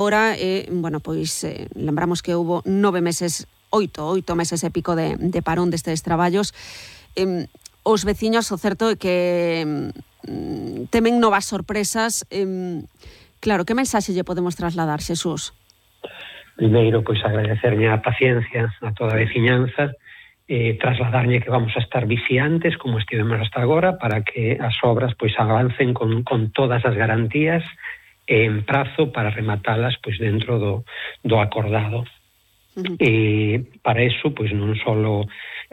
Ahora, bueno, pois lembramos que houbo 9 meses, oito meses e pico de parón destes traballos. Os veciños, o certo é que temen novas sorpresas. Claro, que mensaxe lle podemos trasladar, Xesús? Primeiro, pois agradecerlle a paciencia a toda a veciñanza, trasladarlle que vamos a estar vixiantes como estivemos hasta agora para que as obras pois avancen con todas as garantías en prazo para rematalas pois dentro do acordado. Para eso, pois non só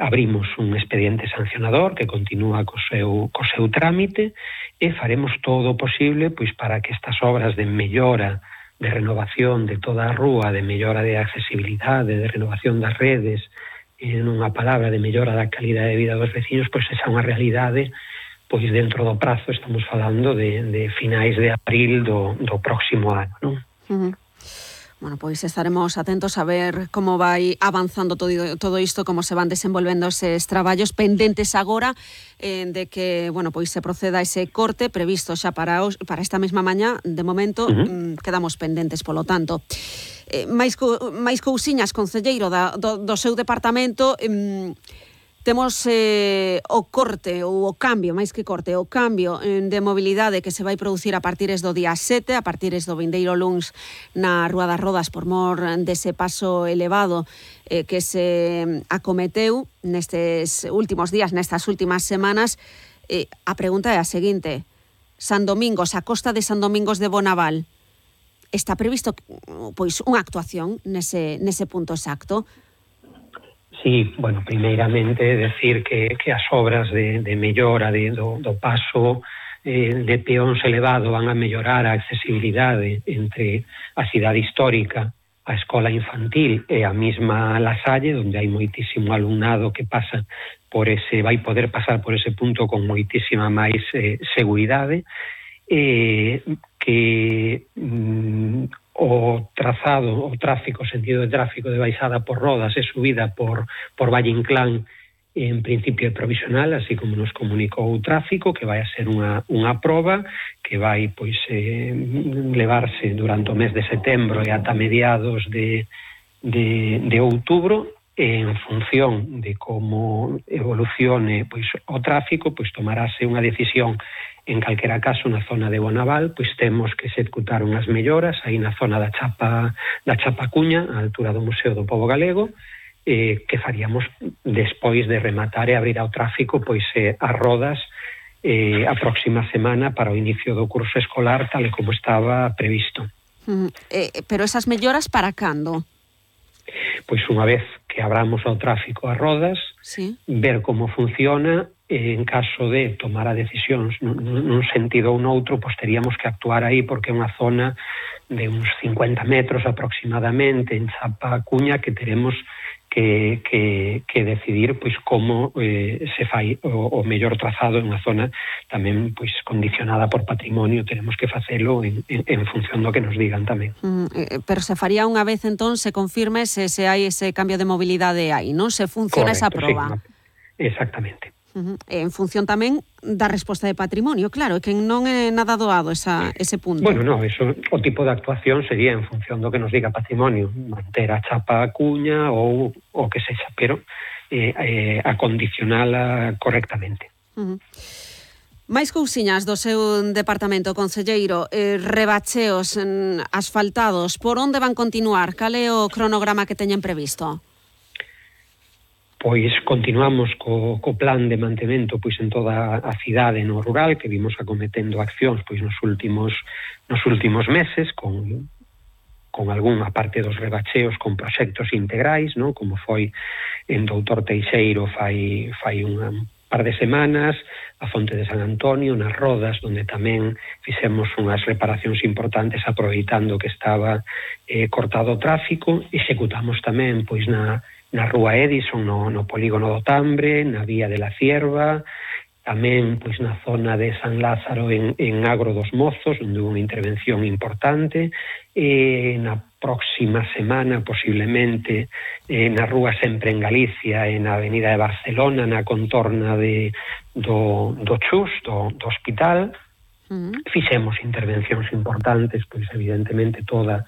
abrimos un expediente sancionador que continúa co seu trámite e faremos todo o posible pois para que estas obras de mellora, de renovación de toda a rúa, de mellora de accesibilidade, de renovación das redes, en unha palabra de mellora da calidade de vida dos veciños, pois esa é unha realidade pois dentro do prazo, estamos falando de finais de abril do próximo ano, non? Bueno, pois estaremos atentos a ver como vai avanzando todo isto, como se van desenvolvendo eses traballos pendentes agora de que, bueno, pois se proceda ese corte previsto xa para esta mesma mañá. De momento, quedamos pendentes, polo tanto. máis cousiñas, concelleiro do seu departamento. Temos o corte ou o cambio, máis que corte, o cambio de mobilidade que se vai producir a partires do día 7, a partires do vindeiro luns na Rúa das Rodas por mor dese paso elevado que se acometeu nestes últimos días, nestas últimas semanas. A pregunta é a seguinte: San Domingos, a costa de San Domingos de Bonaval, está previsto pois unha actuación nese punto exacto? Sí, bueno, primeiramente decir que as obras de mellora do paso de peóns elevado van a mellorar a accesibilidade entre a cidade histórica, a escola infantil e a mesma La Salle, onde hai moitísimo alumnado que pasa vai poder pasar por ese punto con moitísima máis seguridade, que o sentido de tráfico de baixada por Rodas e subida por Valle Inclán en principio é provisional, así como nos comunicou o tráfico, que vai a ser unha proba que vai pois levarse durante o mes de setembro e ata mediados de outubro. En función de como evolucione pois o tráfico, pois tomarase unha decisión. En calquera caso, na zona de Bonaval, pois temos que executar unhas melloras aí na zona da Chapacuña, á altura do Museo do Pobo Galego, que faríamos despois de rematar e abrir ao tráfico pois as Rodas a próxima semana para o inicio do curso escolar tal e como estaba previsto. Pero esas melloras para cando? Pois unha vez que abramos ao tráfico as Rodas, sí, ver como funciona. En caso de tomar a decisións nun sentido ou noutro, pois teríamos que actuar aí porque é unha zona de uns 50 metros aproximadamente en Chapacuña que teremos que decidir pois como se fai o mellor trazado en unha zona tamén pois condicionada por patrimonio. Tenemos que facelo en función do que nos digan tamén. Pero se faría unha vez entón se confirme se hai ese cambio de mobilidade aí, non? Se funciona. Correcto, esa proba. Sí, exactamente. En función tamén da resposta de patrimonio, claro, que non é nada doado ese punto. Bueno, no, eso, o tipo de actuación sería en función do que nos diga patrimonio, manter a chapa a cuña ou o que sexa, pero acondicionala correctamente. Máis cousiñas do seu departamento, concelleiro, rebacheos asfaltados, por onde van continuar? Cal é o cronograma que teñen previsto? Pois continuamos co plan de mantemento pois en toda a cidade no rural, que vimos acometendo accións pois nos últimos meses con algunha parte dos rebacheos con proxectos integrais, non? Como foi en Doutor Teixeiro fai un par de semanas, a Fonte de San Antonio, nas Rodas, onde tamén fixemos unhas reparacións importantes aproveitando que estaba cortado o tráfico. Executamos tamén pois na Rúa Edison, no polígono do Tambre, na Vía de la Cierva, tamén pois na zona de San Lázaro en Agro dos Mozos, onde houve unha intervención importante. Na próxima semana, posiblemente, na Rúa Sempre en Galicia, na Avenida de Barcelona, na contorna do Chus, do hospital. Fixemos intervencións importantes, pois evidentemente toda